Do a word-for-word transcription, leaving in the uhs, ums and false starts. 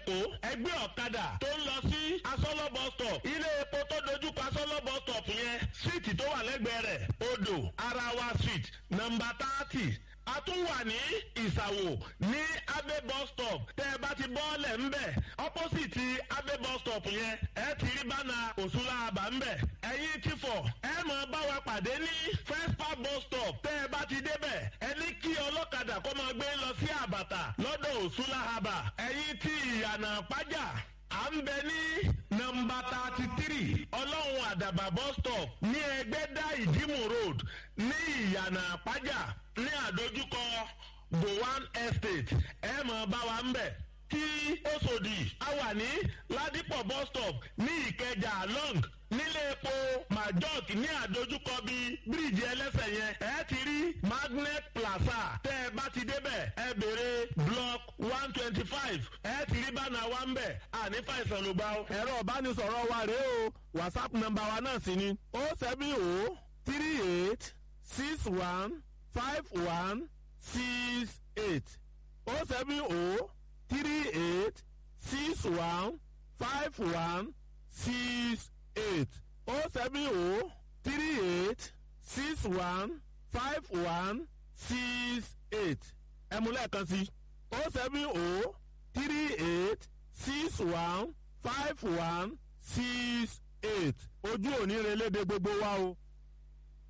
lẹ́kọ̀ọ́, ẹgbẹ́ ọ̀kadà tó ń lọ sí Asọ́lọ́ bus stop. Ilé epo tó dojúkọ Asọ́lọ́ bus stop yẹn, síìtì tó wà lẹ́gbẹ̀ẹ́ rẹ̀, Odò Arawa Street, nọ́mbà thirty. A tún wà ní Ìsàwò ní Abe bus stop. Tẹ́ ẹ bá ti bọ́ọ̀lẹ̀ ńbẹ̀, opposite Abe bus stop yẹn, ẹ ti rí bánà Òṣùlá àbá ńbẹ̀. Ẹ̀yin ti fọ̀, ẹ máa bá wa pàdé ní First Park bus stop. Tẹ́ ẹ bá ti débẹ̀, ẹ ní kí ọlọ́kadà kó máa gbé lọ sí Àbàtà lọ́dọ̀ Òṣùlá àbà. Ẹ̀yin ti Ìyànà Pájà, à ń bẹ ní nọ́mbà thirty three Ọlọ́run Àdàbà bus stop ní Ẹgbẹ́dá Ìdímù Road ní Ìyànà Àpájà ní àdójúkọ Gowan Estate. Ẹ mọ̀ bá wa ń bẹ̀. Tí Òṣòdì, a wà ní Ládìpọ̀ bus stop ní Ìkẹjà long nílé epo Majok ní àdójúkọ bíi bíríìjì ẹlẹ́sẹ̀ yẹn. Ẹ ti rí Magnet Plaza. Tẹ́ ẹ bá ti débẹ̀, ẹ béèrè block one twenty five. Ẹ ti rí bánà wa ń bẹ̀. Àní fàìsàn ló gbà ó. Ẹ̀rọ ìbánisọ̀rọ̀ wa rèé o, WhatsApp nọ́mbà wa náà sì ni o seven o three eight six one five one six eight, o seven o three eight six one five one six eight, o seven o three eight six one five one six eight. Ẹ mú lẹ́ẹ̀kan sí, o seven o three eight six one five one six eight. Ojú òní relédè gbogbo wa o.